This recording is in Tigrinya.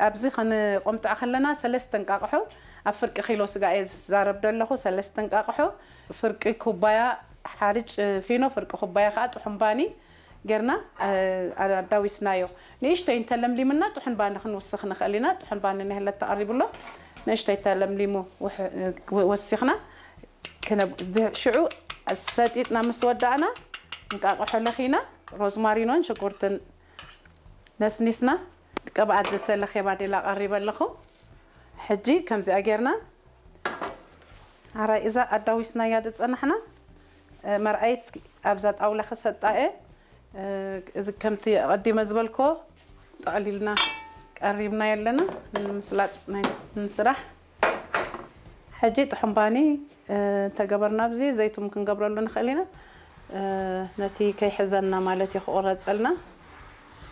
ኣብዚ ክንቆምጣ ከለና ሰለስተ እንቃቕሖ፣ ኣብ ፍርቂ ኪሎ ስጋ እየ ዝዛረብ ዘለኹ። ሰለስተ እንቃቕሖ፣ ፍርቂ ኩባያ ሓርጭ ፊኖ፣ ፍርቂ ኩባያ ከዓ ጥሑን ባኒ ጌርና ኣዳዊስናዮ። ንእሽተይ እንተለምሊምና ጥሑን ባኒ ክንውስኽ ንኽእል ኢና። ጥሑን ባኒ ንህለት ተቐሪብሎ ንእሽተይ ተለምሊሙ ወሲኽና ሽዑ ሰጢጥና ምስ ወዳእና እንቃቕሖ ለኺና ሮዝማሪኖን ሽጉርትን ነስኒስና ቅብኣት ዝተለኸ ባዴላ ቀሪበ ኣለኹ። ሕጂ ከምዚኣ ጌርና ኣራይ እዛ ኣዳዊስናያ ዝጸናሕና መርኣይት ኣብዛ ጣውላ ክሰጣ እየ። እዚ ከምቲ ኣቐዲመ ዝበልኮ ጠቕሊልና ቀሪብና የለና ንምስላጥ ናይ ንስራሕ። ሕጂ ጥሑምባኒ ተገበርና ኣብዚ ዘይቱም ክንገብረሉ ንኽእል ኢና። ነቲ ከይሕዘና ማለት እዩ ክቑረፀልና።